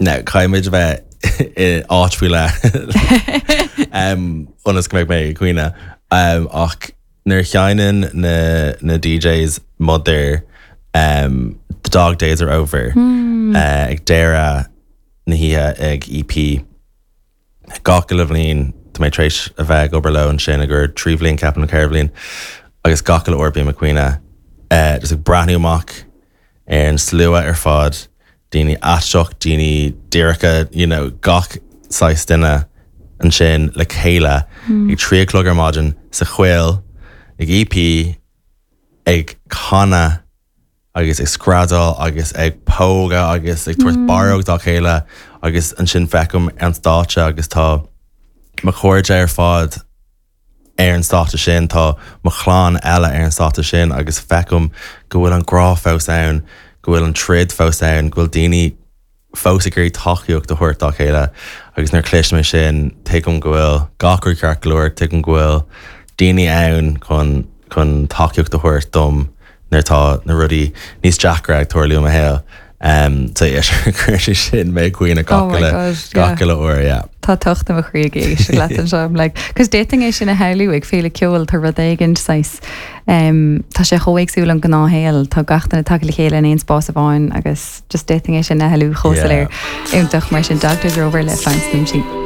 Now, caithfidh muid a bheith i áit faoi leith ionas go mbeidh mé ag caoineadh. Ach nuair a sheinneann na na DJs Mother The Dog Days Are Over ag deireadh na hoíche ag EP, Gach uile bhliain, tá mé tar éis a bheith ag obair leo ansin i gcomhair 3 bhliain, ceapaim, nó 4 bhliain, agus gach uile uair bím ag caoineadh, just ag breathnú amach ar an slua ar fad, daoine aisteach, daoine díreacha, you know, gach saghas duine ansin le chéile ag 3 a chlog ar maidin sa choill ag EP ag canadh agus ag screadaíl agus ag pógadh agus ag tabhairt barróg dá chéile agus ansin feicim an stáitse agus tá mo chairde ar fad ar an stáitse sin, tá mo chlann eile ar an stáitse sin agus feicim go bhfuil an grá fós ann, go bhfuil an troid fós ann, go bhfuil daoine fós ag iarraidh tacaíocht a thabhairt dá chéile agus nuair a chloisim é sin, tuigim go bhfuil gach rud ceart go leor, tuigim go bhfuil daoine ann chun chun tacaíocht a thabhairt dom nuair atá na rudaí níos deacra ag tarlú i mo shaol. Um, so yeah, chuir sé sin mé ag caoineadh gach Oh my uile God, yeah. gach uile uair, yeah. Tá tocht i mo chroí ag éisteacht leat anseo. I'm like, cos d'fhéadfainn é sin a shamhlú ag féile ceoil, tá rud éigin saghas, um, tá sé chomh éagsúil ón gnáthshaol, tá gach duine tagtha le chéile in aon spás amháin agus, Just d'fhéadfainn é sin a shamhlú chomh soiléir. Iontach mar sin Dog Days Are Over le Florence and the Machine.